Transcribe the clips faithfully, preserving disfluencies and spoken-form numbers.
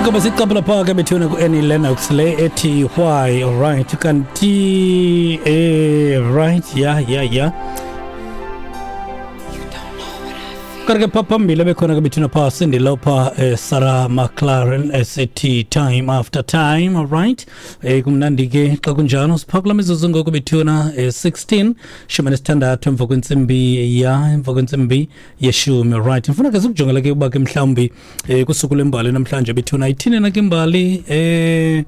Ingoma siqaphela phaa ke bethuna ku-Annie Lennox le ethi "Why". Alright, kanti eh right, yeah yeah yeah kanti ke phaa phambili bekhona ke bethuna phaa Cyndi Lauper, eh, Sarah McLachlan esithi "Time After Time". Alright, eh kumnandi ke xa kunjalo. Siphakula mizuzu ngoku bethuna eh, sixteen, shumi nesithandathu emva kwentsimbi ya emva kwentsimbi yeshumi. Alright, ndifuna ke sikujongela ke uba ke mhlawumbi eh kusuku lwembali namhlanje bethuna, ithini na ke imbali? eh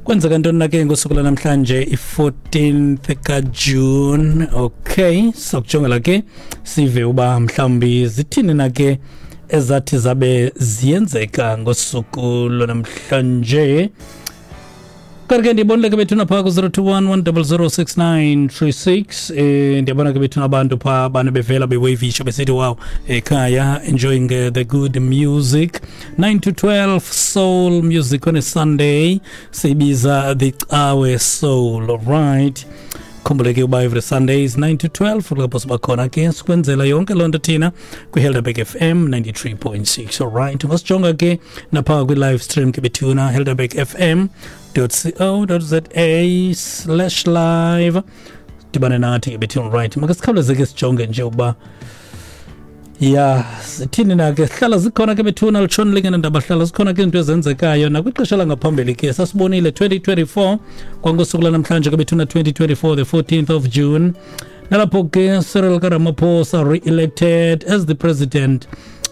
kwenzeka ntoni na ke ngosuku lanamhlanje, i-fourteenth kaJune? Okay, sakujongela ke sive uba mhlawumbi zithini na ke ezathi zabe ziyenzeka ngosuku lwanamhlanje. Kanti ke ndibonile ke bethuna phaa ku-zero two one, one zero zero, six nine three six. eh ndiyabona ke bethuna abantu phaa bane bevela bewavisha besithi, "Wow, ekhaya enjoying uh, the good music, nine to twelve soul music on a Sunday, siyibiza the Cawe Soul." Alright, khumbule ke uba every Sundays nine to twelve lapho siba khona ke sikwenzela yonke loo nto thina kwiHelderberg F M ninety-three point six. Alright, ungasijonga ke naphaa kwi-live stream ke bethuna, helderberg F M dot co dot za slash live, dibane nathi ke bethuna. Right, makasikhawuleze ke sijonge nje uba ya zithini na ke. Hlala zikhona ke bethuna, litshoni lingenandaba, hlala zikhona ke izinto ezenzekayo. Nakwixesha langaphambili ke sasibonile twenty twenty-four, kwangosuku lanamhlanje ke bethuna, twenty twenty-four, the fourteenth of June, nalapho ke Cyril Ramaphosa re-elected as the president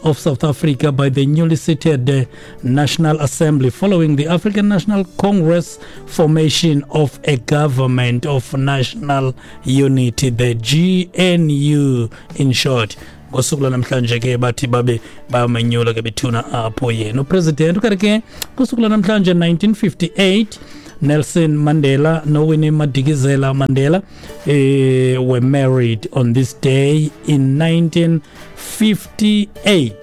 of South Africa by the newly seated uh, National Assembly following the African National Congress formation of a government of national unity, the G N U in short. Ngosuku lwanamhlanje ke bathi babe bamenyula ke bethuna apho yena upresident. Ukanti ke kusuku lwanamhlanje nineteen fifty-eight, Nelson Mandela noWinnie Madikizela Mandela eh, were married on this day in nineteen fifty-eight.